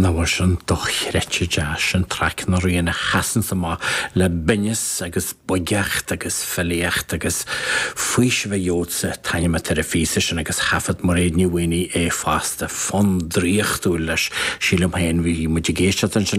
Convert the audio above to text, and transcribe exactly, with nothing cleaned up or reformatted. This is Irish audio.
Nach bhfuil sin dochreidte deas an traic na rian a sheasann amach le binneas agus boigeacht agus filíocht agus faoiseamh a gheobhadsa taitneamh ar an phíosa sin agus thaifead Mairéad Ní Mhaonaigh é fosta fonn draíochtúil leis sílim féin bhí muid ag éisteacht ansin